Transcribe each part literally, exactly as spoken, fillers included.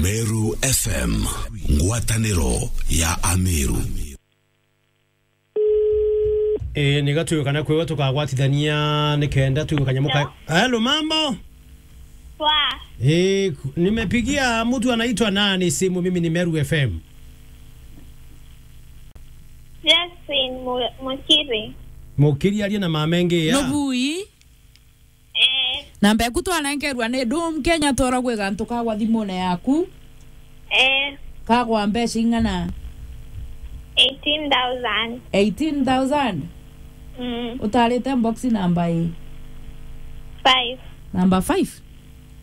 Meru F M, ngwataniro ya Ameru. Eh, ni gatwikana kwewa tukagwatithania nikenda twikanye muka. Hello? Hello, mambo? Poa. Eh, ku-, nimepigia mtu anaitwa nani simu, mimi ni Meru F M. Josephine Mu-, Mukiri. Mukiri aria na mama engi ya. Nubui? Eh. Namba eku twanenkerwa ni Dom Kenya, twara gwi gantu kagwa thimune yaku. Eh. Kagwa mbeca ing'ana? Eighteen thousand. Eighteen thousand? Mm. Utarite box namba i? Five. Namba five?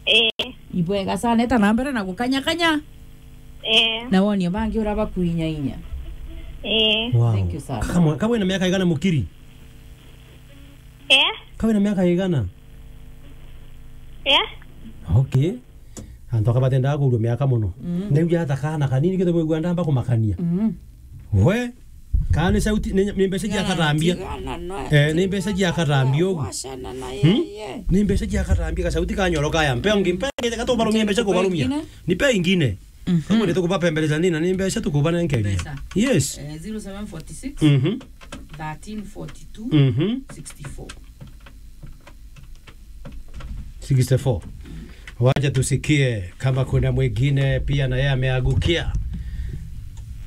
Eh. Ibwega sana, eta na mbere na gukanyakanya. Eh. Na wonie bangi ura bakuinyainya. Eh. Wow. Thank you sana. Kamwe, kamwe na miaka igana Mukiri? Eh? Kawe na miaka igana? Eh? Okay. Antu aka batendaga kuurua miaka mono. Mm. Neu ya ata kana kanini kete kwigua ndamba kumakania. Mm. We, kana ni sauti, ni, ni mbeca cia katambia. Eh, ni mbeca cia katambia ugu. Wacana na Hmm? Yeye. Ni mbeca cia katambia, ka sauti kanyoro kaya. Mpe ungi, mpe ungi, katubarumia mbeca kubarumia. Ingine? Ni pe ingine. Mhm. Kama ni tukubapembeleza nini, na ni mbeca tukubanenkeria. Mbeca. Yes. Eh, zero seven forty six, Mhm. thirteen forty two, Mhm. sixty four. Sixty four. Wacha tusikie kama kuna mwingine pia na yeye ameangukia.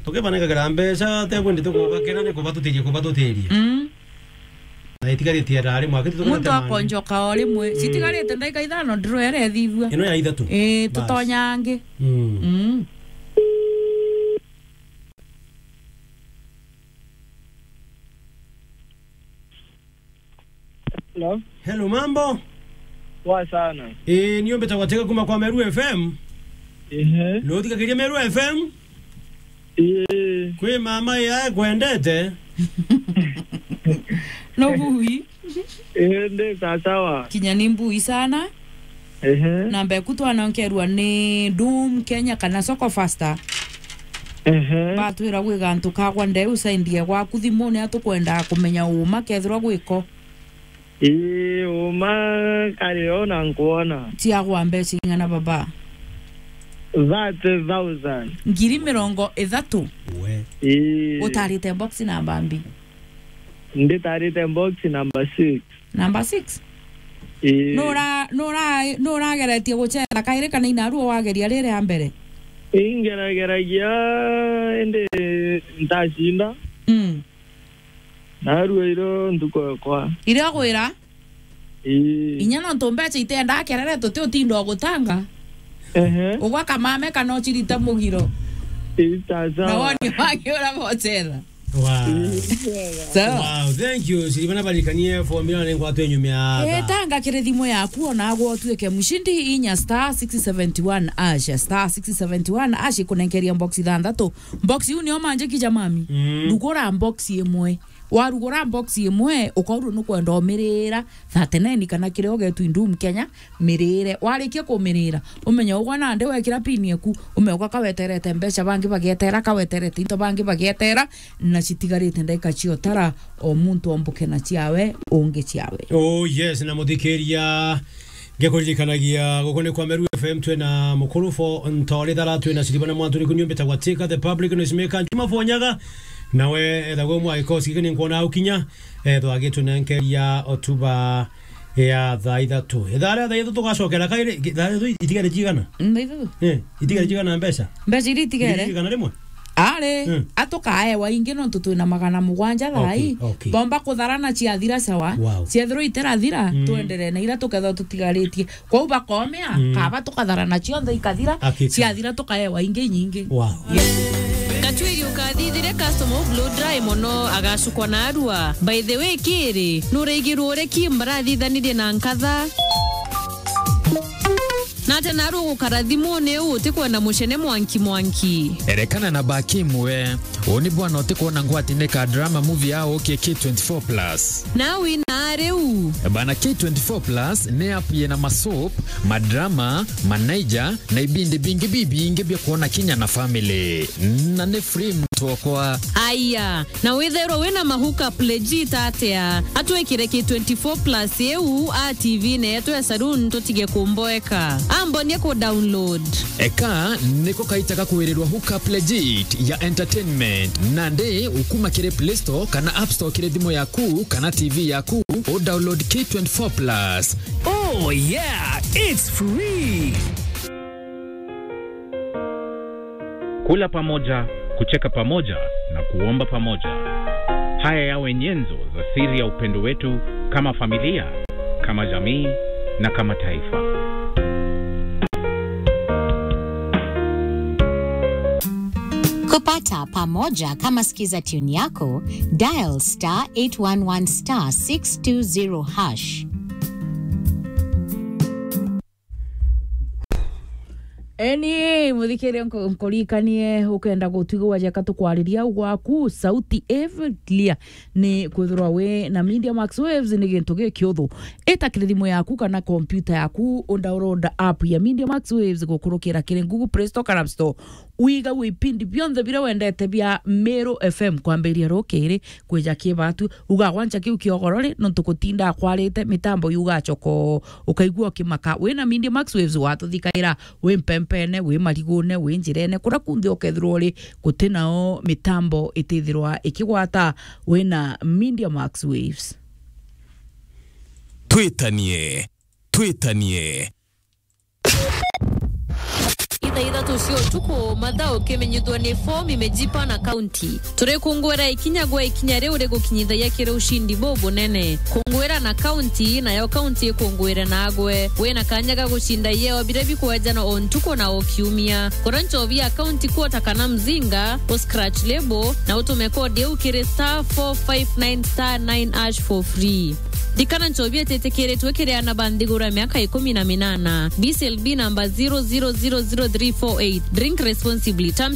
Tukibanenkagira mbeca, te kwendi tukubakira ni kubatutiria, kubatutiria. Mm. Na itigaritie ndari mwaka, muntu akonjoka o rimwe. Mm. Citigarite ndagika ithano, ndiro ere ethithua. Ino ya ithatu. Ii, bas. Tutonyange. Mm. Mm. Hello? Hello, mambo? Poa sana. Ii, niombe tawatega kuma kwa Meru F M. Ehe. No thikagiria Meru F M? Ii. Kwi mama ya kwendete. No bui. Ii, ndi sasawa. Kinya ni mbui sana. Ehe. Namba eku twanonkerwa ni Dom Kenya kana Soko Faster. Ehe. Batwira gwi gantu kagwa ndeu saindie gwaku thimune, atukwenda kumenya uma kethirwa gwiko. Ii, uma kari o na nkwona. Ciagwa mbeca ing'ana baba? Thirty thousand. Ngiri mirongo ithatu? We. Ii. Utarite box namba mbi? Nditarite box number six. Number six? Ii. Nura-, nura-, nurageretie gucera kairi kana inaru wageria riri ya mbere? Ingerageragia, indi ntacinda. Mm. Narua iro ntuku ekwa. Iria gwira? Ii. Inya nontu mbeca itiendaa kerere, tuti utinda ugutanga. Ehe. Ugwa kamame kana ucirite mugiro. Ii, sawa, sawa. Na woni wangi ura bocetha. Wow. Ii, sawa. Sawa. Wow, thank you. Siribana barikanie formula ni ngwatwe nyumia. Eh, tha. Tanga kiri thimu yaku ona agwo utuike mushindi, inya star six seventy one hash, star six seventy one hash, ikunenkeria box ithanthatu. Box iu nio manjiki ja mami. Mm. Rugura box imwe. Warugura box imwe, ukorwo nukwenda umirira thirty nine kana kiria ugetwi Dom Kenya, mirire. Warikia kumirira, umenye ugwa nandi wekira pin eku, ume ugwa kaweterete mbeca, bangi bagietera, kaweterete into, bangi bagietera, na citigarite ndagika ciotara, o muntu ombuke na ciawe, ungi ciawe. Oh yes, na muthikiria, ngekuririkanagia guku ni kwa Meru F M, twina mukuru fo Ntore Thara, twina Siribana Mwantu, ni kunyumbita gwa Tika the Public Noise Maker, Juma Fonyaga, nawe ethagwo mwa gikosi giki ni nkwona au kinya, ethwa agitunenkeria otuba ya thaa ithatu. Ithaa ria thaa ithatu tugacokera kairi, thaa ithatu itigari cigana? Thaa ithatu? Eh, itigari cigana mbeca? Mbeca iria itigere? Ngiri igana rimwe? Ari, mm, atukaewa ingi nontu twina magana mugwanja thaa ii. Okay, okay. Bomba kutharana ciathira sawa. Wow. Ciethirwa itirathira, mm, twenderee na iria tukethwa tutigaritie. Kwou bakomea, mm, kaba tukatharana cionthe ikathira, hakika, ciathira tukaewa ingi nyingi. Wow. Yes. Gatuiri ukathithire customer u blow dry mono, agacukwa na arua. By the way, kiri, nuraigirwe uria Kim barathithanirie na nkatha? Na ati naru ugukara thimuni uu utikwenda mucene mwanki mwanki? Erekana na ba Kim we. Uu ni bwana utikwona ngwatine ka drama movie ya ukie K twenty-four plus. Na wina riu? Bana, K twenty-four plus ni app yina ma soap, ma drama, ma Niger, na ibindi bingi bibingi bia kwona kinya na family. Na ni free. twokwa. Aya, na withairwa wina ma hookup legit atia? Atwikire ki twenty-four plus iu a T V neetu ya saloon tutige kumboeka. Ambonie ku download. Eka niko kaita ga kwirirwa hookup legit ya entertainment. Nandi ukuma kiri Play Store kana App Store kiri thimu yaku kana T V yaku, u download K twenty-four plus. Oh yeah, it's free. Kula pamoja, kucheka pamoja na kuomba pamoja. Haya yawe nyenzo za siri ya upendo wetu kama familia, kama jamii na kama taifa. Kupata pamoja kama skiza tune yako, dial star eight one one star six two zero hash. Eni, muthikiria nku-, nkurikanie, ukenda gutwigua jeka tukwariria au gwaku, sauti every clear. Ni kwithirwa wi na Media Max Waves ni gintu gikiuthu. Ita kiri thimu yaku kana kompyuta yaku, u download app ya Media Max Waves gukurukira kiri Google Play Store kana App Store. Wiga wi ipindi bionthe biria wendete bia Meru F M kwambiria rukiri kwija kibatu. Uga gwancha kiu kiogoro ri, nontu gutinda kwarite mitambo yuga choko. Ukaigua ukimaka. Wina Media Max Waves watuthikaira, wi mpempene, wi marigune, wi njirene, kuria kunthe ukethirwa uri, guti nao mitambo itithirwa ikigwata. Wina Media Max Waves. Twitanie, twitanie. Ithaa ithatu cia utuku, mathaa ukimenyithua ni fomu imejipa na kaunti. Turikungwira ikinya gwa ikinya riu rigukinyithagia kiri ushindi bubunene. Kungwira na kaunti, nayo kaunti ikungwire nagwe. Wina kanya ga gucinda ieo biria bikwejana o ntuku na o kiumia. Kura nchobi ya kaunti kuota kana mzinga, u scratch label, na utume kodi iu kiri star four five nine star nine hash for free. Ndikana nchobi ititikiritwe kiri ana ba nthiguru ya miaka ikumi na minana. B C L B number zero zero zero zero three four eight. Drink responsibly. Terms